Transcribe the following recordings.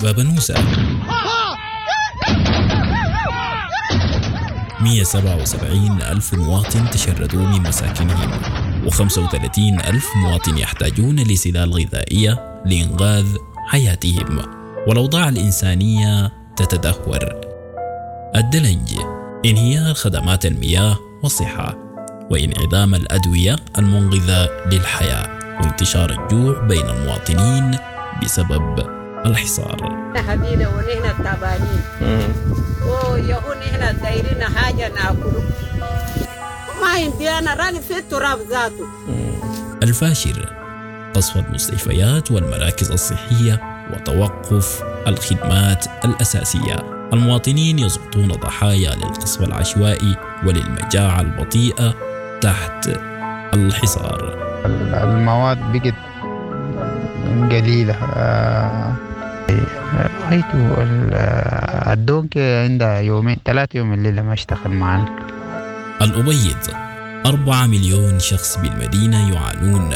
بابنوسة 177 ألف مواطن تشردوا من مساكنهم، و35 ألف مواطن يحتاجون لسلال غذائية لإنقاذ حياتهم، والأوضاع الإنسانية تتدهور. الدلنج: انهيار خدمات المياه والصحة، وانعدام الأدوية المنقذة للحياة، وانتشار الجوع بين المواطنين بسبب الحصار. حبينا ونحن تعبانين ويهون نحن دايرين حاجة ناكله، ما عندي أنا راني في التراب ذاته. الفاشر: قصف المستشفيات والمراكز الصحية وتوقف الخدمات الأساسية. المواطنين يسقطون ضحايا للقصف العشوائي وللمجاعة البطيئة تحت الحصار. المواد بقت قليلة. رأيت الدونك عندها يومين 3 يوم الليلة ما اشتغل معنا. الأبيض: 4 مليون شخص بالمدينة يعانون،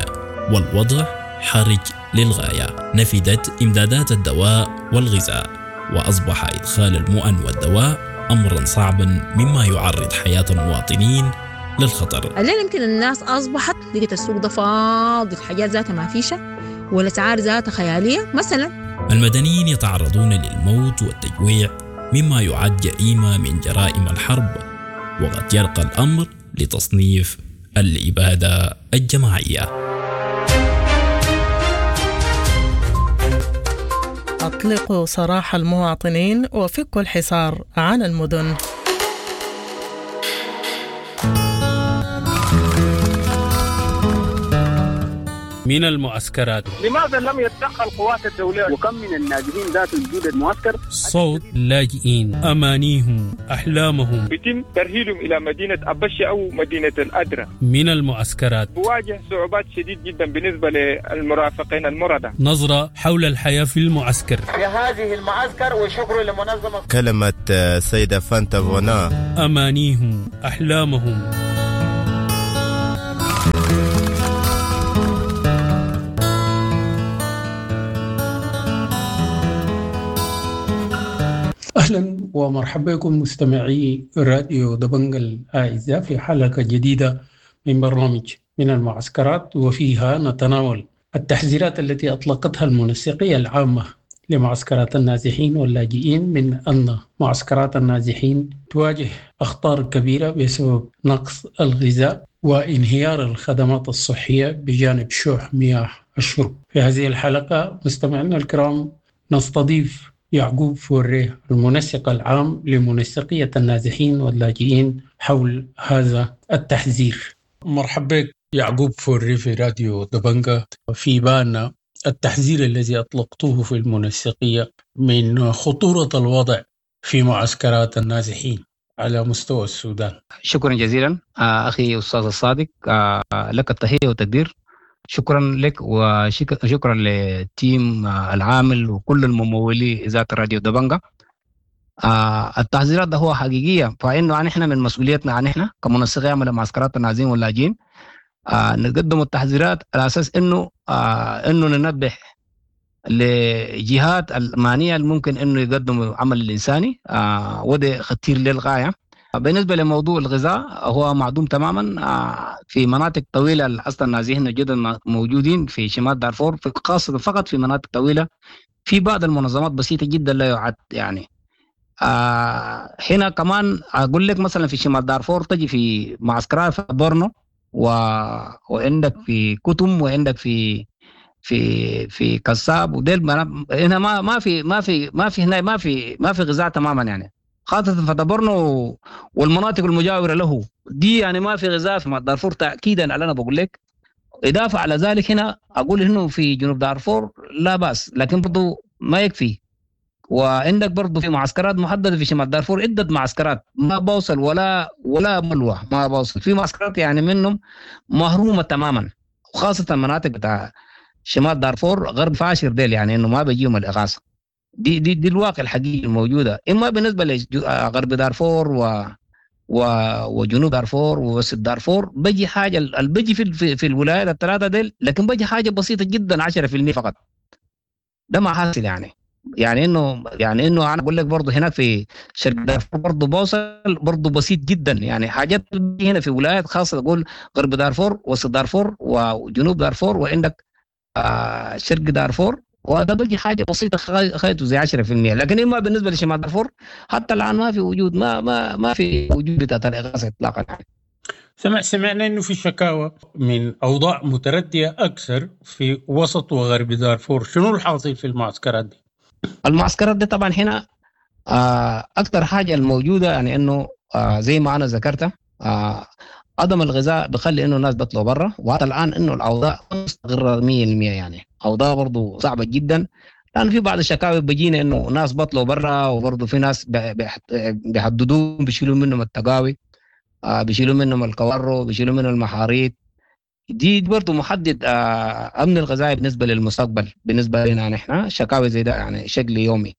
والوضع حرج للغاية. نفدت إمدادات الدواء والغذاء، وأصبح إدخال المؤن والدواء أمرا صعبا، مما يعرض حياة المواطنين للخطر. الليلة يمكن الناس أصبحت لقيت السوق ده فاضي، الحاجات ذاتها ما فيشة والأسعار ذاتها خيالية مثلا. المدنيين يتعرضون للموت والتجويع، مما يعد جريمة من جرائم الحرب، وقد يرقى الأمر لتصنيف الإبادة الجماعية. أطلقوا سراح المواطنين وفكوا الحصار عن المدن. من المعسكرات. لماذا لم يتدخل القوات الدولية؟ وكم من النازحين ذات وجود المعسكر؟ صوت لاجئين، أمانيهم، أحلامهم. يتم ترحيلهم إلى مدينة أبشي أو مدينة الأدرة. من المعسكرات. بواجه صعوبات شديد جدا بالنسبة للمرافقين المرضى. نظرة حول الحياة في المعسكر. في هذه المعسكر وشكر لمنظمة. كلمة سيدة فانتا فونا. أمانيهم، أحلامهم. أهلا ومرحبا بكم مستمعي راديو دبنجا الأعزاء في حلقة جديدة من برنامج من المعسكرات، وفيها نتناول التحذيرات التي أطلقتها المنسقية العامة لمعسكرات النازحين واللاجئين من أن معسكرات النازحين تواجه أخطار كبيرة بسبب نقص الغذاء وانهيار الخدمات الصحية بجانب شح مياه الشرب. في هذه الحلقة مستمعينا الكرام نستضيف يعقوب فوريه المنسق العام لمنسقية النازحين واللاجئين حول هذا التحذير. مرحبا بك يعقوب فوريه في راديو دبنجا. في بالنا التحذير الذي أطلقته في المنسقية من خطورة الوضع في معسكرات النازحين على مستوى السودان. شكرا جزيلا أخي أستاذ الصادق، لك التحية والتقدير. شكرا لك وشكرا للتيم العامل وكل الممولي إذاعة راديو دبنجا. التحذيرات ده هو حقيقية، فإنه نحن من مسؤوليتنا نحن كمنسقية عمل معسكرات النازحين واللاجئين نقدم التحذيرات على أساس إنه ننبه لجهات المعنية الممكن إنه يقدموا عمل الإنساني، وده خطير للغاية. بالنسبة لموضوع الغذاء هو معدوم تماما في مناطق طويلة. أصلا النازحين الجدد موجودين في شمال دارفور، خاصة فقط في مناطق طويلة، في بعض المنظمات بسيطة جدا لا يعد يعني. هنا كمان أقول لك مثلا في شمال دارفور تجي في معسكرات في بورنو وعندك في كتم وعندك في في في كساب وديل، هنا ما في ما في ما في هنا ما في غذاء تماما يعني، خاصة في دبرنو والمناطق المجاورة له دي يعني ما في غذاء في دارفور تأكيدا على أنا بقول لك. إضافة على ذلك هنا أقول إنه في جنوب دارفور لا بأس، لكن برضو ما يكفي. وعندك برضو في معسكرات محددة في شمال دارفور، عدة معسكرات ما بوصل ولا ملوى ما بوصل، في معسكرات يعني منهم مهرومة تماما، وخاصة المناطق بتاع شمال دارفور غرب فاشر ديل يعني إنه ما بيجيهم الإغاثة. دي دي دي الواقع الحقيقي الموجودة. اما بالنسبة لغرب دارفور وجنوب دارفور ووسط دارفور بيجي حاجة، بيجي في الولايات الثلاثة ديل، لكن بيجي حاجة بسيطة جدا 10% فقط. ده ما حاصل يعني. يعني انه انا اقول لك برضه هناك في شرق دارفور برضه بوصل برضه بسيط جدا، يعني حاجات هنا في ولايات خاصة تقول غرب دارفور، وسط دارفور، وجنوب دارفور، وعندك شرق دارفور، وده بيجي حاجة بسيطة خيطه زي 10%. لكن اما بالنسبة لشمال دارفور حتى الان ما في وجود، ما في وجود بتاعت الاغاثة اطلاقا يعني. سمعنا انه في شكاوى من اوضاع مترديه اكثر في وسط وغرب دارفور، شنو الحاصل في المعسكرات دي؟ المعسكرات دي طبعا هنا اكثر حاجة الموجودة يعني انه زي ما انا ذكرت عدم الغذاء بخلي انه الناس بيطلعوا برا، وحتى الان انه الاوضاع مستقره 100% يعني اوضاع برضه صعبة جدا، لان في بعض الشكاوي بيجينا انه ناس بطلوا برا، وبرضه في ناس بيحددوهم، بيشيلوا منهم التقاوي، بيشيلوا منهم الكوارو، بيشيلوا منهم المحاريت دي برضه محدد امن الغذائي بالنسبة للمستقبل بالنسبة لنا نحن، شكاوي زي ده يعني شكل يومي.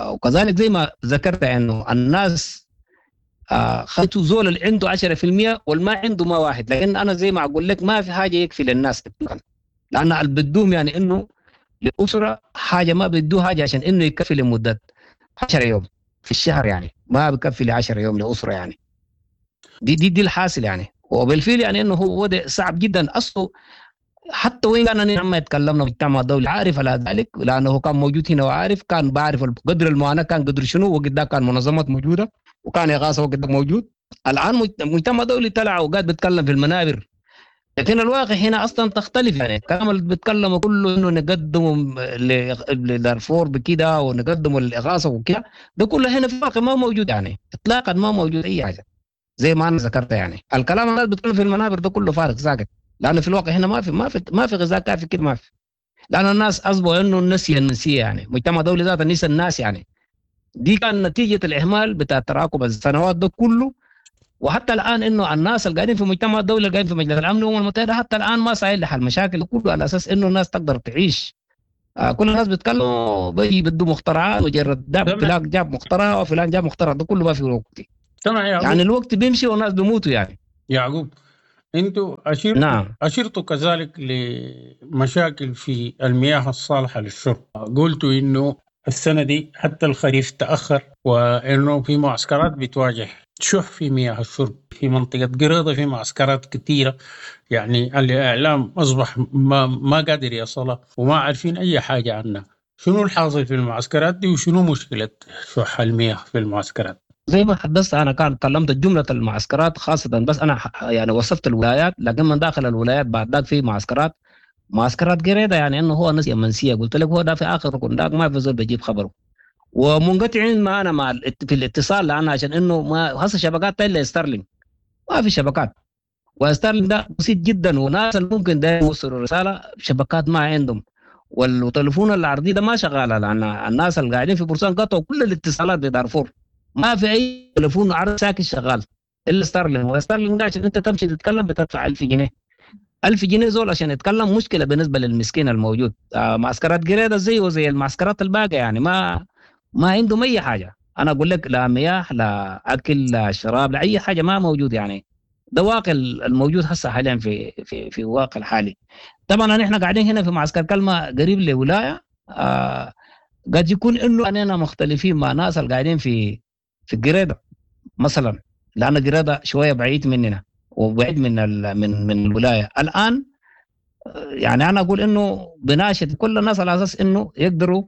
وكذلك زي ما ذكرت انه الناس خلتوا زول اللي عنده 10% والما عنده ما واحد، لكن انا زي ما اقول لك ما في حاجة يكفي للناس اطلاقا، لان اللي بدوهم يعني انه لاسرة حاجة ما بدوه حاجة عشان انه يكفي لمدة 10 يوم في الشهر، يعني ما بكفي ل 10 يوم لاسرة يعني. دي دي دي الحاصل يعني، وبالفعل يعني انه هو وضع صعب جدا اصله. حتى وين كان لما يتكلمنا مجتمع الدولي عارف على ذلك، لانه كان موجود هنا وعارف، كان بعرف قدر المعاناة كان قدر شنو، وقت ده كان منظمات موجودة وكان اغاثه وقت ده موجود. الان مجتمع دولي طلع وقاعد بيتكلم في المنابر، لكن الواقع هنا اصلا تختلف يعني. الكلام اللي بيتكلموا كله انه نقدمه لدارفور بكده ونقدمه للاغاثة وكده، ده كله هنا في الواقع ما موجود يعني اطلاقا، ما موجود اي حاجة زي ما انا ذكرت يعني. الكلام اللي بيتكلم في المنابر ده كله فارغ ساكت، لانه في الواقع هنا ما في غذاء كافي كده، ما في، لان الناس اصبحوا انه النسيه النسيه يعني، مجتمع دولي ذاته نسى الناس يعني. دي كان نتيجة الاهمال بتاع تراكم السنوات ده كله، وحتى الان انه الناس اللي قاعدين في مجتمع الدولي اللي قاعدين في مجلس الامن والامم المتحدة حتى الان ما ساعين لحل المشاكل كله على اساس انه الناس تقدر تعيش. كل الناس بيتكلموا بيجي بدوا مخترعات، مجرد فلان جاب مخترع وفلان جاب مخترع، ده كله ما في وقت يعني، الوقت بيمشي والناس بيموتوا يعني. يعقوب انتوا نعم. اشرتوا كذلك لمشاكل في المياه الصالحة للشرب، قلتوا انه السنة دي حتى الخريف تاخر، وانه في معسكرات بتواجه شح في مياه الشرب في منطقة قريضه، في معسكرات كثيرة يعني الاعلام اصبح ما قادر يصلها وما عارفين اي حاجة عنها. شنو الحاصل في المعسكرات دي وشنو مشكلة شح المياه في المعسكرات؟ زي ما حدثت انا كان كلمت جملة المعسكرات خاصة، بس انا يعني وصفت الولايات، لكن من داخل الولايات بعد ذاك في معسكرات قريده يعني انه هو نسيه منسية، قلت لك هو ده في اخر ركن ذاك ما في زول بيجيب خبره، ومنقطعين معنا مع في الاتصال، لان عشان انه ما هسه شبكات الا ستارلينك، ما في شبكات، وستارلينك ده بسيط جدا، وناس اللي ممكن ده يوصلوا رسالة شبكات ما عندهم، والتليفون العرضي ده ما شغالة، لان الناس اللي قاعدين في بورسان قطعوا كل الاتصالات بدارفور، ما في اي تليفون عرض ساكن شغال الا ستارلينك. وستارلينك ده عشان انت تمشي تتكلم بتدفع 1000 جنيه، 1000 جنيه زول عشان يتكلم مشكلة بالنسبة للمسكين الموجود. معسكرات قريده زي وزي المعسكرات الباقية يعني، ما عندهم اي حاجة. انا اقول لك لا مياه لا اكل لا شراب لا اي حاجة ما موجود يعني. ده واقع الموجود هسه حاليا في في في الواقع الحالي. طبعا نحن قاعدين هنا في معسكر كلمة قريب لولاية، قد يكون انه اننا مختلفين مع ناس اللي قاعدين في قريده مثلا، لان قريده شوية بعيد مننا وبعيد من من الولاية. الان يعني انا اقول انه بناشد كل الناس على اساس انه يقدروا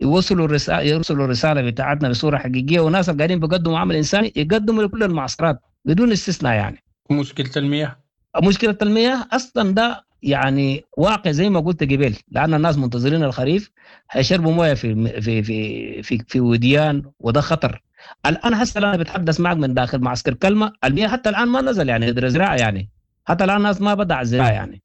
يوصلوا الرسالة، يرسلوا الرسالة بتاعتنا بصورة حقيقية، وناس اللي قاعدين بيقدموا عمل انساني يقدموا لكل المعسكرات بدون استثناء يعني. مشكلة المياه، مشكلة المياه اصلا ده يعني واقع زي ما قلت قبل، لان الناس منتظرين الخريف هيشربوا مويه في في في في, في وديان، وده خطر. الان هسه انا بتحدث معك من داخل معسكر كلمة، المياه حتى الان ما نزل يعني قدر زراعة يعني، حتى الان الناس ما بدا الزراعة يعني،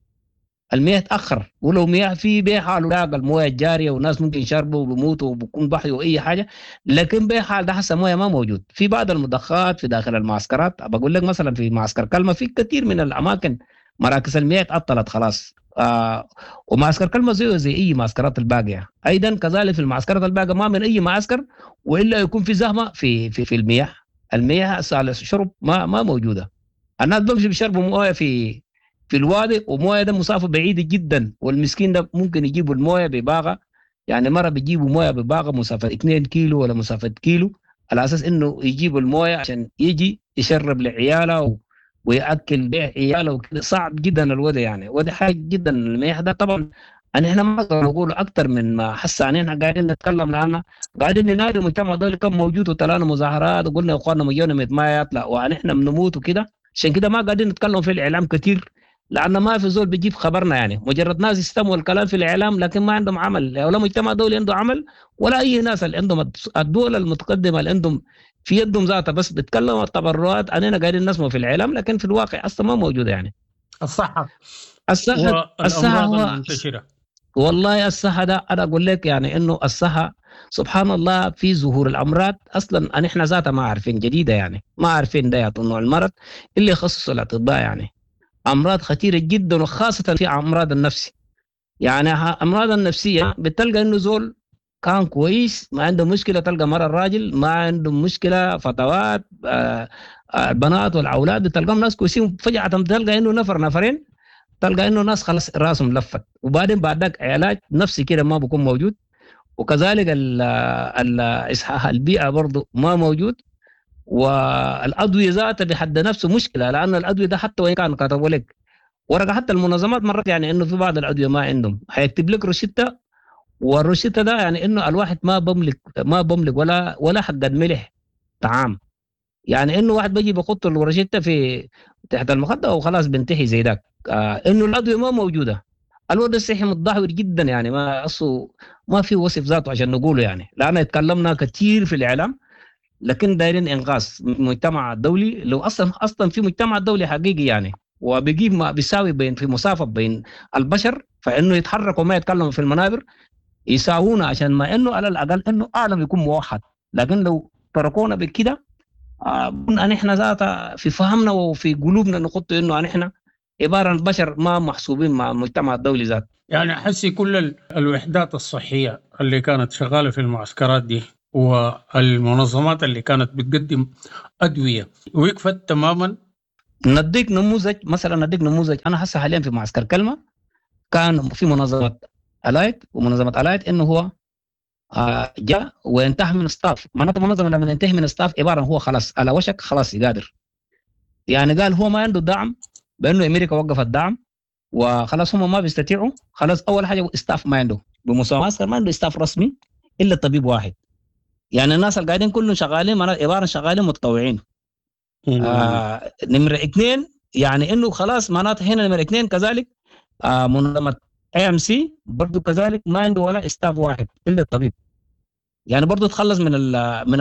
المياه تاخر، ولو مياه في بيه حاله لاقى المويه الجارية والناس ممكن يشربوا وبيموتوا وبكون بحي واي حاجة، لكن بيه حال ده هسه مويه ما موجود. في بعض المضخات في داخل المعسكرات، بقول لك مثلا في معسكر كلمة في كثير من الاماكن مراكز المياه تعطلت خلاص. ومعسكر كلمة زيه زي اي معسكرات الباقية، ايضا كذلك في المعسكرات الباقية ما من اي معسكر والا يكون في زحمة في في في المياه، المياه الشرب ما موجودة. الناس بمشي بيشربوا مويه في الوادي، ومويه ده مسافة بعيدة جدا، والمسكين ده ممكن يجيبوا المويه بباغه يعني مرة بيجيبوا مويه بباغه مسافة 2 كيلو ولا مسافة كيلو، على اساس انه يجيبوا المويه عشان يجي يشرب لعياله وياكل بيع عياله وكده. صعب جدا الوضع يعني، وده حاجة جدا الميح ده. طبعا احنا ما نقدر نقول اكثر من ما حس، يعني احنا قاعدين نتكلم لان قاعدين ننادي المجتمع الدولي كم موجود، وطلعنا مظاهرات وقلنا يا اخواننا مليون ما يطلع ونحن بنموت وكده. عشان كده ما قاعدين نتكلم في الاعلام كثير، لان ما في زول بيجيب خبرنا، يعني مجرد ناس يستمعوا الكلام في الاعلام لكن ما عندهم عمل، ولا مجتمع دولي عنده عمل، ولا اي ناس اللي عندهم الدول المتقدمة اللي عندهم في يدهم ذاتها بس بيتكلموا التبرعات. اننا قاعدين نسمع في الاعلام لكن في الواقع اصلا ما موجودة يعني. الصحة الصحة المنتشرة والله الصحة ده انا اقول لك يعني انه الصحة سبحان الله في ظهور الامراض اصلا احنا ذاتها ما عارفين جديدة، يعني ما عارفين ده نوع المرض اللي يخصص الاطباء، يعني امراض خطيرة جدا، وخاصة في امراض النفسي. يعني امراض النفسية بتلقى انه زول كان كويس ما عنده مشكلة، تلقى مرة الراجل ما عنده مشكلة، فتوات البنات والاولاد بتلقاهم ناس كويسين، فجاة تلقى انه نفر نفرين تلقى انه ناس خلاص راسهم لفت، وبعدين بعد ذاك علاج نفسي كده ما بيكون موجود، وكذلك اصحاح البيئة برضه ما موجود، والادوية ذاتها بحد نفسه مشكلة، لان الادوية ده حتى وان كان كتبوا لك ورقة، حتى المنظمات مرات يعني انه في بعض الادوية ما عندهم، حيكتب لك روشته، والروشته ده يعني انه الواحد ما بملك ولا حق ملح طعام، يعني انه واحد بيجي بيحط الروشته في تحت المخدة وخلاص بنتهي زي ذاك. انه الادوية ما موجودة، الوضع الصحي متدهور جدا، يعني ما اصله ما في وصف ذاته عشان نقوله، يعني لان اتكلمنا كثير في الاعلام لكن دايرين انقاذ المجتمع الدولي. لو اصلا في مجتمع دولي حقيقي يعني وبيجيب ما بيساوي بين في مسافة بين البشر، فانه يتحركوا وما يتكلموا في المنابر يساوونا، عشان ما انه على الاقل انه اعلم يكون موحد. لكن لو تركونا بكده نحن ذاتها في فهمنا وفي قلوبنا نحط انه نحن عبارة عن بشر ما محسوبين مع المجتمع الدولي ذات. يعني حسي كل الوحدات الصحية اللي كانت شغالة في المعسكرات دي والمنظمات اللي كانت بتقدم ادوية وقفت تماما. نديك نموذج مثلا، نديك نموذج، انا هسه حاليا في معسكر كلمة كان في منظمة الايت، ومنظمة الايت انه هو جاء وانتهى من staff، معناته منظمة لما ينتهي من staff عبارة هو خلاص على وشك خلاص يقادر، يعني قال هو ما عنده دعم، بانه امريكا وقفت دعم وخلاص هم ما بيستطيعوا، خلاص اول حاجة staff ما عنده بمساعدة، ما عنده staff رسمي الا طبيب واحد، يعني الناس اللي قاعدين كلهم شغالين عبارة شغالين متطوعين. نمره اثنين يعني انه خلاص معناته هنا نمره اثنين كذلك منظمة IMC برضه كذلك ما عنده ولا staff واحد الا الطبيب، يعني برضه تخلص من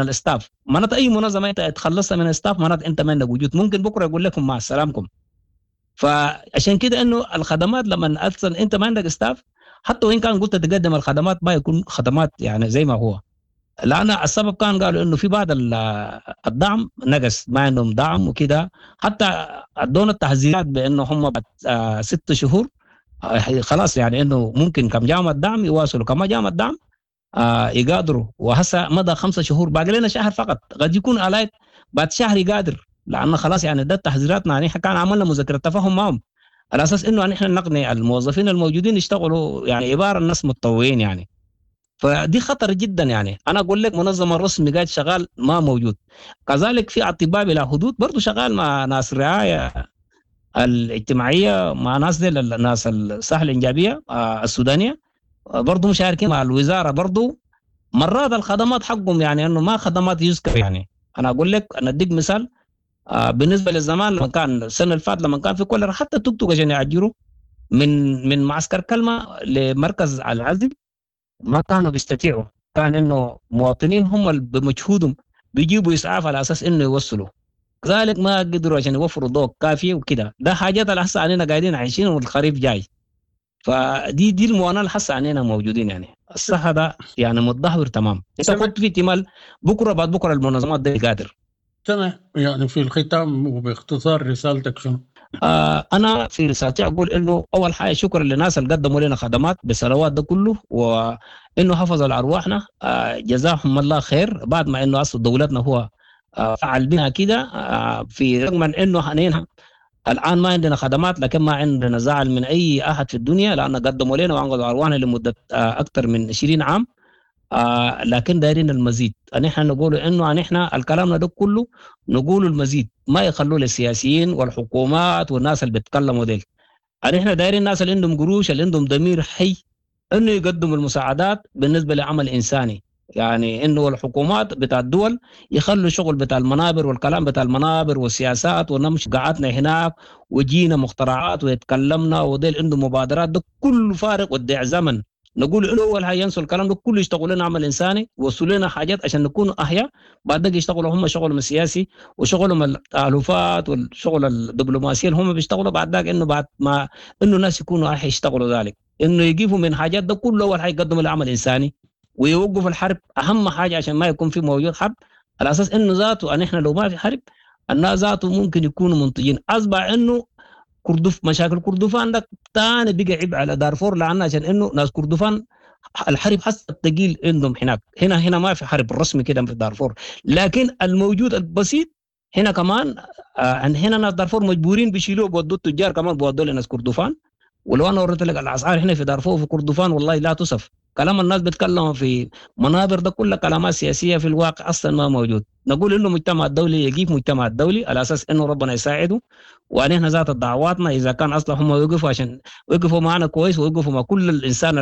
ال staff. معناته اي منظمة انت تخلصها من ال staff معناته انت ما عندك وجود، ممكن بكره يقول لكم مع السلامكم. فعشان كده انه الخدمات لما اصلا انت ما عندك staff، حتى وان كان قلت تقدم الخدمات ما يكون خدمات يعني زي ما هو، لان السبب كان قالوا انه في بعض الدعم نقص، ما عندهم دعم وكده، حتى ادونا التحذيرات بانه هم بعد 6 شهور خلاص يعني انه ممكن كم جامعة الدعم يواصلوا، كما جامعة الدعم يقادروا، وهسه مضى 5 شهور باقي لنا شهر فقط، قد يكون الايت بعد شهر يقادر، لانه خلاص يعني ده تحذيراتنا. يعني كان عملنا مذكره تفاهم معهم على اساس انه نحن نقنع الموظفين الموجودين يشتغلوا يعني عبارة الناس متطوعين يعني، فدي خطر جدا. يعني انا اقول لك منظمة رسمي قاعد شغال ما موجود. كذلك في اطباء بلا حدود برضه شغال مع ناس الرعاية الاجتماعية، مع ناس دي الناس الصحة الانجابيه السودانية برضه مشاركين مع الوزارة برضه. مرات الخدمات حقهم يعني انه ما خدمات يذكر. يعني انا اقول لك انا اديك مثال بالنسبة للزمان لما كان السنة اللي فاتت لما كان في كوليرا، حتى توك توك عشان يعجروا من معسكر كلمة لمركز العزل ما كانوا بيستطيعوا، كان انه مواطنين هم بمجهودهم بيجيبوا اسعاف على اساس انه يوصلوا، كذلك ما قدروا عشان يوفروا ضوء كافي وكده. ده حاجات اللي هسه علينا قاعدين عايشين والخريف جاي، فدي دي المعاناة اللي هسه علينا موجودين. يعني الصحة ده يعني متدهور تمام. انت كنت في احتمال بكره بعد بكره المنظمات دي قادر. تمام. يعني في الختام وباختصار رسالتك شنو؟ انا في رسالتي اقول انه اول حاجة شكرا للناس اللي قدموا لنا خدمات بالسنوات ده كله، وانه حفظوا على ارواحنا، جزاهم الله خير. بعد ما انه اصل دولتنا هو فعل بها كده، في رغم من انه حنينها الان ما عندنا خدمات، لكن ما عندنا زعل من اي احد في الدنيا، لان قدموا لنا وانقذوا ارواحنا لمدة اكثر من 20 عام. لكن دايرين المزيد. نحن نقول انه نحن الكلام ده كله نقول المزيد، ما يخلوه للسياسيين والحكومات والناس اللي بيتكلموا ديل. نحن دايرين الناس اللي عندهم قروش، اللي عندهم ضمير حي، انه يقدموا المساعدات بالنسبة لعمل انساني. يعني انه الحكومات بتاع الدول يخلوا شغل بتاع المنابر والكلام بتاع المنابر والسياسات، ونمشي قعدنا هناك وجينا مخترعات ويتكلمنا وديل عندهم مبادرات، ده كله فارغ ودع زمن. نقول انه اول حاجة ينسوا الكلام ده كله، يشتغلوا لنا عمل انساني، وصلوا لنا حاجات عشان نكون احياء. بعد ذلك يشتغلوا هم شغلهم السياسي وشغلهم التالفات والشغل الدبلوماسي اللي هم بيشتغلوا بعد ذاك، انه بعد ما انه الناس يكونوا احياء يشتغلوا ذلك، انه يجيبوا من حاجات ده كله. اول حاجة يقدموا العمل الانساني ويوقفوا الحرب، اهم حاجة عشان ما يكون في موجود حرب، على اساس انه ذاته ان احنا لو ما في حرب الناس ذاته ممكن يكونوا منتجين. اصبح انه كردف مشاكل كردفان ده ثاني بقى عبء على دارفور، لان عشان انه ناس كردفان الحرب حسب الثقيل عندهم هناك. هنا ما في حرب رسمي كده في دارفور، لكن الموجود البسيط هنا كمان. هنا ناس دارفور مجبورين بيشيلوه بودوا التجار كمان بودوا لناس كردفان. ولو انا وريت لك الاسعار هنا في دارفور وفي كردفان والله لا تصف. كلام الناس بيتكلموا في منابر ده كله كلامات سياسية، في الواقع اصلا ما موجود. نقول انه المجتمع الدولي يجيب مجتمع الدولي على اساس انه ربنا يساعده، ونحن ذات دعواتنا اذا كان اصلا هم وقفوا عشان وقفوا معنا كويس ووقفوا مع كل الانسان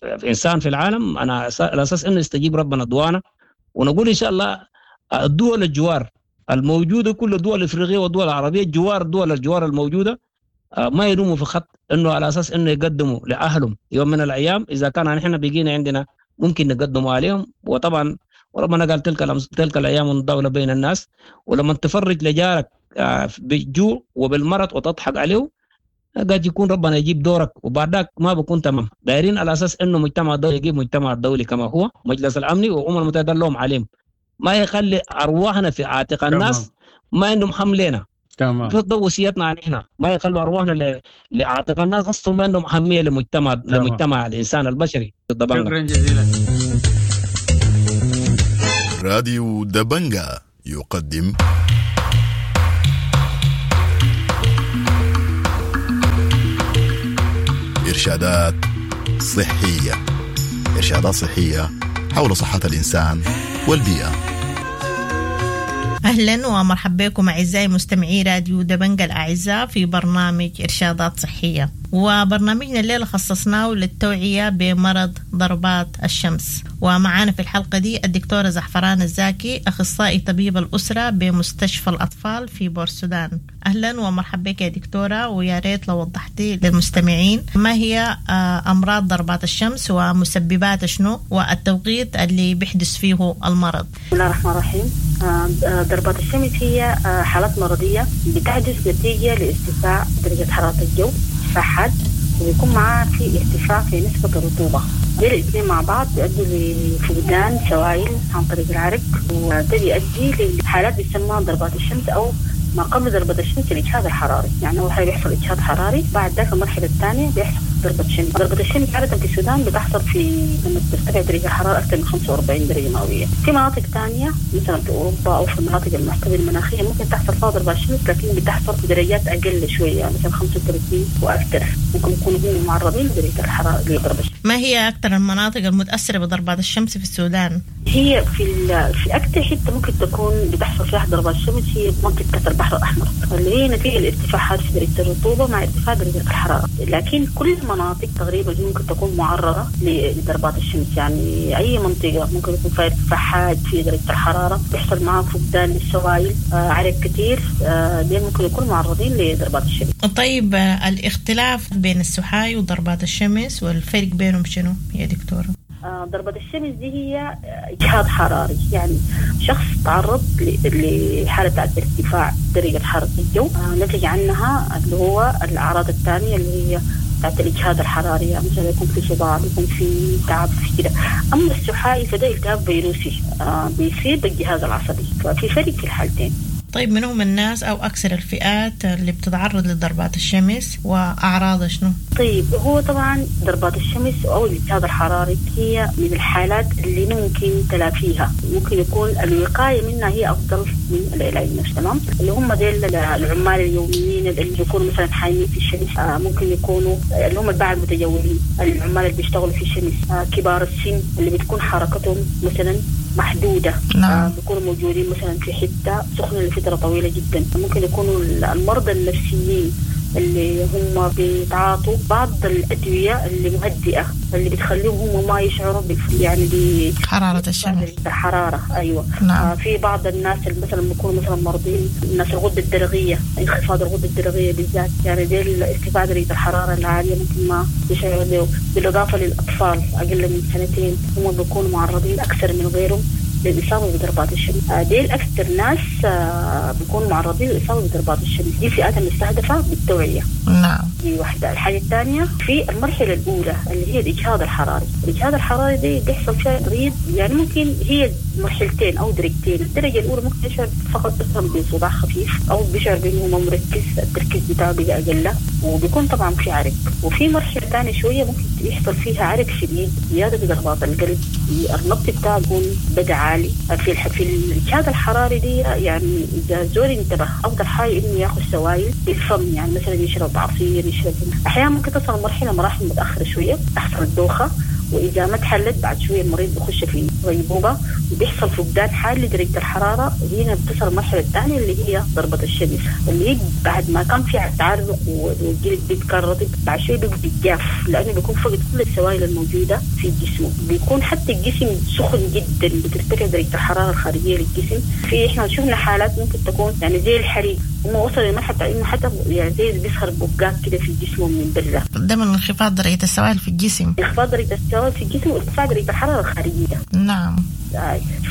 الانسان في العالم، انا على اساس انه يستجيب ربنا دعانا. ونقول ان شاء الله الدول الجوار الموجودة، كل الدول الافريقية والدول العربية الجوار، دول الجوار الموجودة ما يلوموا في خط انه على اساس انه يقدموا لاهلهم يوم من الايام. اذا كان نحن بقينا عندنا ممكن نقدموا عليهم. وطبعا وربنا قال تلك الايام الدولة بين الناس، ولما تفرج لجارك بالجوع وبالمرض وتضحك عليه قد يكون ربنا يجيب دورك وبعدك ما بكون تمام. دايرين على اساس انه مجتمع الدولي يجيب مجتمع الدولي كما هو مجلس الامني والامم المتحدة لهم عليهم، ما يخلي ارواحنا في عاتق الناس، ما عندهم حملنا. تمام. ده وصيتنا عن احنا، ما يخلوا ارواحنا لعاتق الناس اصلا، ما عندهم اهمية لمجتمع الانسان البشري. شكرا جزيلا. راديو دبنجا يقدم إرشادات صحية، إرشادات صحية حول صحة الإنسان والبيئة. أهلا ومرحبا بكم أعزائي مستمعي راديو دبنجا الأعزاء في برنامج إرشادات صحية. وبرنامجنا الليلة خصصناه للتوعية بمرض ضربات الشمس، ومعانا في الحلقة دي الدكتورة زعفران الزاكي، أخصائي طبيب الأسرة بمستشفى الأطفال في بورسودان. أهلا ومرحبا بك يا دكتورة، ويا ريت لو وضحتي للمستمعين ما هي أمراض ضربات الشمس ومسببات شنو والتوقيت اللي بيحدث فيه المرض. بسم الله الرحمن الرحيم. ضربات الشمس هي حالات مرضية بتحدث نتيجة لارتفاع درجة حرارة الجو حاد، وبيكون معاه في ارتفاع في نسبة الرطوبة. دي الاثنين مع بعض بيؤدوا لفقدان سوائل عن طريق العرق، وده بيؤدي لحالات بيسموها ضربات الشمس أو ما قبل ضربة الشمس الإجهاد الحراري. يعني أول حاجة بيحصل إجهاد حراري، بعد ذاك المرحلة الثانية بيحصل ضربة شمس. ضربة الشمس عادة في السودان بتحصل في لما ترتفع درجة الحرارة أكثر من 45 درجة مئوية. في مناطق ثانية مثلا في أوروبا أو في المناطق المعتدلة المناخية ممكن تحصل فيها ضربة شمس، لكن بتحصل في درجات أقل شوية، يعني مثلا 35 وأكثر، ممكن يكونوا هم معرضين لدرجة الحرارة لضربة الشمس. ما هي أكثر المناطق المتأثرة بضربات الشمس في السودان؟ هي في أكثر حتة ممكن تكون بتحصل فيها ضربات الشمس هي منطقة البحر الأحمر، اللي هي نتيجة لارتفاعات في درجة الرطوبة مع ارتفاع درجة الحرارة. لكن كل المناطق تقريبا ممكن تكون معرضة لضربات الشمس، يعني أي منطقة ممكن يكون فيها ارتفاع حاد في درجة الحرارة، بيحصل معها فقدان للسوائل، عرق كثير، دي ممكن يكون معرضين لضربات الشمس. طيب الاختلاف بين السحاي وضربات الشمس والفرق بينهم شنو يا دكتورة؟ ضربة الشمس دي هي إجهاد حراري، يعني شخص تعرض لحالة ارتفاع درجة حرارة الجو، نتج عنها اللي هو الأعراض الثانية اللي هي بتاعت الإجهاد الحراري، يعني مثلا يكون في صداع، يكون في تعب، في كده. أما السحائي فده التهاب فيروسي بيصيب الجهاز العصبي، ففي فرق في الحالتين. طيب من هم الناس أو أكثر الفئات اللي بتتعرض لضربات الشمس وأعراضها شنو؟ طيب هو طبعا ضربات الشمس او الاجهاد الحراري هي من الحالات اللي ممكن تلافيها، ممكن يكون الوقاية منها هي افضل من العلاج نفسه. تمام؟ اللي هم ديل العمال اليوميين اللي بيكونوا مثلا حايمين في الشمس، ممكن يكونوا اللي هم الباعة المتجولين، العمال اللي بيشتغلوا في الشمس، كبار السن اللي بتكون حركتهم مثلا محدودة. نعم. بيكونوا موجودين مثلا في حتة سخنة لفترة طويلة جدا، ممكن يكونوا المرضى النفسيين اللي هم بيتعاطوا بعض الأدوية اللي مهدئة اللي بتخليهم هم ما يشعروا يعني حرارة الشمس، الحرارة. أيوة. نعم. في بعض الناس اللي مثلا بيكونوا مثلا مرضين، الناس الغدة الدرقية، انخفاض الغدة الدرقية بالذات، يعني ديل ارتفاع درجة الحرارة العالية ممكن ما يشعروا به. بالإضافة للأطفال أقل من سنتين هم بيكونوا معرضين أكثر من غيرهم للإصابة بضربات الشمس. ديل أكثر ناس بيكونوا معرضين للإصابة بضربات الشمس، دي فئات المستهدفة بالتوعية. نعم. دي واحدة. الحاجة الثانية في المرحلة الأولى اللي هي الإجهاد الحراري. الإجهاد الحراري دي بيحصل فيها تغيير، يعني ممكن هي مرحلتين أو درجتين. الدرجة الأولى ممكن يشعر فقط مثلا بصداع خفيف أو بيشعر بأنه ما مركز، التركيز بتاعه بقى أقل، وبيكون طبعا في عرق. وفي مرحلة ثانية شوية ممكن يحصل فيها عرق شديد، زيادة في ضربات القلب، النبض بتاعه بيكون بدأ عالي. في الإجهاد الحراري دي يعني إذا زول انتبه أفضل حاجة إنه ياخذ سوائل بالفم، يعني مثلا يشرب عصير، يشرب. أحيانا ممكن تصل مرحلة مراحل متأخرة شوية تحصل الدوخة، وإذا ما تحلت بعد شوية المريض بيخش في غيبوبة وبيحصل فقدان حاد لدرجة الحرارة. هنا بتصل المرحلة الثانية اللي هي ضربة الشمس، اللي هي بعد ما كان في تعرق والجلد بيتكرر رطب، بعد شوية بيبقى جاف لأنه بيكون فقد كل السوائل الموجودة في جسمه، بيكون حتى الجسم سخن جدا، بترتفع درجة الحرارة الخارجية للجسم. في إحنا شفنا حالات ممكن تكون يعني زي الحريق، هم وصل لمرحلة إنه حتى يعني زي بيظهر بقات كده في جسمه من برا. ده من انخفاض درجة السوائل في الجسم. انخفاض درجة السوائل في الجسم وارتفاع درجة الحرارة الخارجية. نعم.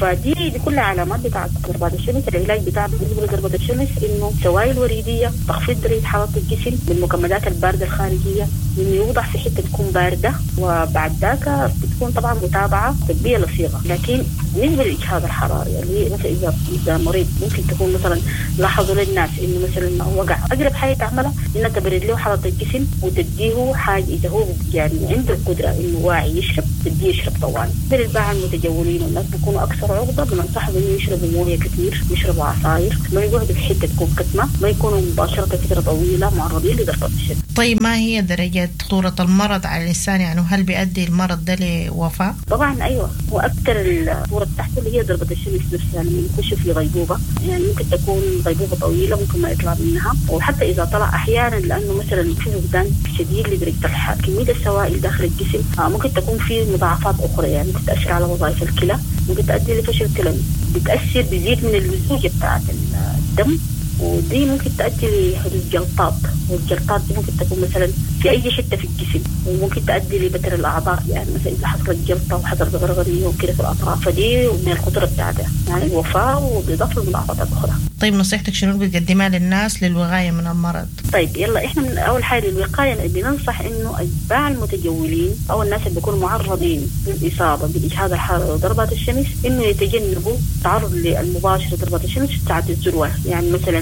فدي كلها علامات بتاعت ضربات الشمس. العلاج بتاع بالنسبة لضربة الشمس إنه سوائل وريدية، تخفيض درجة حرارة الجسم بالمكمدات الباردة الخارجية، إنه يوضع في حتة تكون باردة، وبعد ذاك بتكون طبعا متابعة طبية لصيغة. لكن بالنسبة للإجهاد الحراري اللي مثلا إذا مريض ممكن تكون مثلا لاحظوا للناس إنه مثلا وقع، أقرب حاجة تعملها إنها تبرد له حرارة الجسم وتديه حاجة إذا هو يعني عنده القدرة إنه واعي يشرب، تديه يشرب طوال. بالباعة المتجولين والناس بيكونوا أكثر عرضة، بننصحهم إنه يشربوا موية كثير، يشربوا عصاير، ما يقعدوا في حتة تكون كتمة، ما يكونوا مباشرة فترة طويلة معرضين لضربة الشمس. طيب ما هي درجة خطورة المرض على الإنسان؟ يعني هل بيؤدي المرض ده لوفاة؟ طبعا أيوة، وأكثر الخطورة بتاعته اللي هي ضربة الشمس نفسها، لما يخش في غيبوبة، يعني ممكن تكون غيبوبة طويلة ممكن ما يطلع منها، وحتى إذا طلع أحيانا لأنه مثلا في فقدان شديد لدرجة كمية السوائل داخل الجسم، ممكن تكون في مضاعفات أخرى، يعني ممكن تأثر على وظائف الكلى، ممكن تؤدي لفشل كلوي، بتأثر بيزيد من اللزوجة بتاعت الدم، ودي ممكن تؤدي لحدوث جلطات، والجلطات دي ممكن تكون مثلا في أي حتة في الجسم، وممكن تؤدي لبتر الأعضاء، يعني مثلا إذا حصلت جلطة وحصلت غرغرية وكده في الأطراف، فدي من الخطورة بتاعتها يعني الوفاة وبإضافة للمضاعفات الأخرى. طيب نصيحتك شنو بتقدمها للناس للوقاية من المرض؟ طيب يلا إحنا من أول حاجة للوقاية بننصح إنه أتباع المتجولين أو الناس اللي بيكونوا معرضين للإصابة بالإجهاد الحراري وضربات الشمس إنه يتجنبوا التعرض المباشر لضربات الشمس في ساعة الذروة، يعني مثلا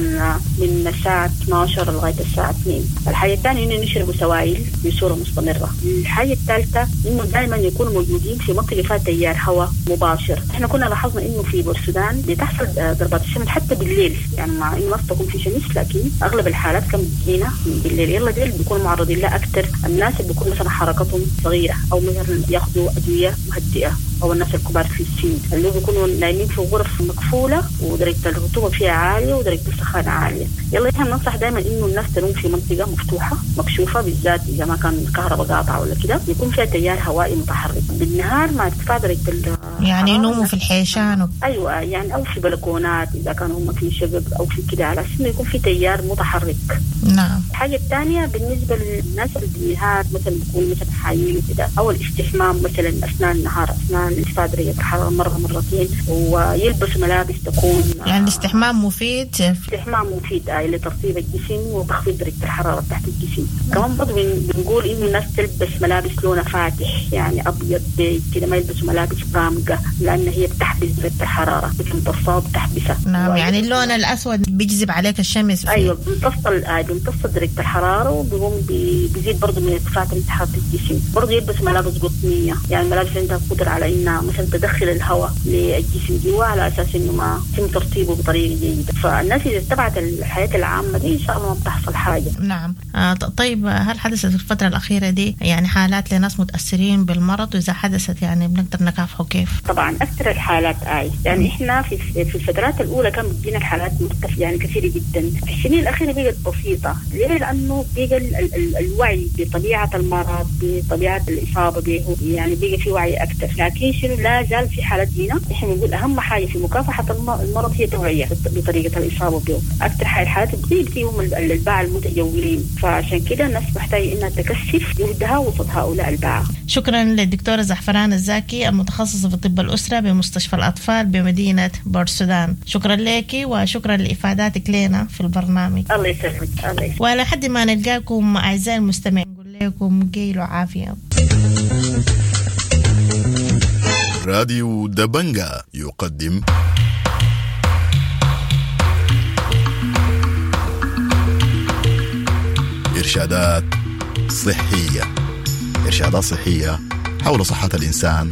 من الساعة 12 لغاية الساعة 2. الحاجة الثانية إنه يشربوا سوائل بصورة مستمرة. الحاجة الثالثة إنه دائما يكونوا موجودين في منطقة فيها تيار هواء مباشر. إحنا كنا لاحظنا إنه في بورسودان بتحصل ضربات الشمس حتى بالليل، يعني مع إنه ما تكون في شمس لكن أغلب الحالات كان بتجينا بالليل. يلا ديل بيكونوا معرضين لها أكثر الناس اللي بيكون مثلا حركتهم صغيرة أو مثلا ياخذوا أدوية مهدئة، أو الناس الكبار في السن اللي بيكونوا نايمين في غرف مقفولة ودرجة الرطوبة فيها عالية ودرجة السخانة عالية. يلا إحنا بننصح دائما إنه الناس تنوم في منطقة مفتوحة مكشوفة، بالذات إذا ما كان الكهرباء قاطعة ولا كده، يكون فيها تيار هوائي متحرك بالنهار مع ارتفاع درجة يعني ينوموا في الحيشان أيوة، يعني أو في بلكونات إذا كانوا هم في شقق أو في كده، على أساس إنه يكون في تيار متحرك. نعم. الحاجة الثانية بالنسبة للناس اللي بالنهار مثلا بيكونوا مثلا حايمين وكده، أو الاستحمام مثلا أثناء النهار أثناء ارتفاع درجة الحرارة مرة مرتين، ويلبسوا ملابس تكون يعني الاستحمام مفيد. الاستحمام مفيد لترطيب الجسم وتخفيض درجه الحرارة بتاعت الجسم. كمان برضه بنقول انه الناس تلبس ملابس لونها فاتح، يعني ابيض بيج كده، ما يلبسوا ملابس غامقه لان هي بتحبس درجه الحرارة، بتمتصها وبتحبسها. نعم، يعني اللون الاسود بيجذب عليك الشمس. ايوه، بيمتص درجه الحرارة وبيقوم بيزيد برضه من ارتفاع درجه حرارة الجسم. برضه يلبس ملابس قطنيه، يعني ملابس عندها قدره على انها مثلا تدخل الهواء للجسم جوا على اساس انه ما يتم ترطيبه بطريقة جيدة. فالناس اذا اتبعت الحياة العامة دي ان شاء الله ما بتحصل حاجة. نعم. طيب، هل حدثت في الفترة الاخيرة دي يعني حالات لناس متاثرين بالمرض؟ واذا حدثت يعني بنقدر نكافحه كيف؟ طبعا اكثر الحالات يعني احنا في الفترات الاولى كان بتجينا الحالات مرتفعة يعني كثيرة جدا. في السنين الاخيرة بقت بسيطة. ليه؟ لانه بقى الوعي بطبيعة المرض، بطبيعة الاصابة به، يعني بقى في وعي اكثر. لكن شنو، لا زال في حالات جينا احنا بنقول اهم حاجة في مكافحة المرض هي توعيه بطريقة الاصابة به. اكثر حالات بتصيب فيهم الباعة المتجولين، فعشان كده الناس محتاجه انها تكثف جهدها وسط هؤلاء الباعة. شكرا للدكتوره زعفران الزاكي المتخصصة في طب الاسرة بمستشفى الاطفال بمدينة بورسودان. شكرا لك وشكرا لافاداتك لنا في البرنامج. الله يسلمك. الله يسلمك. ولحد ما نلقاكم اعزائي المستمعين نقول لكم قيلوا عافية. راديو دبنجا يقدم إرشادات صحية. إرشادات صحية حول صحة الإنسان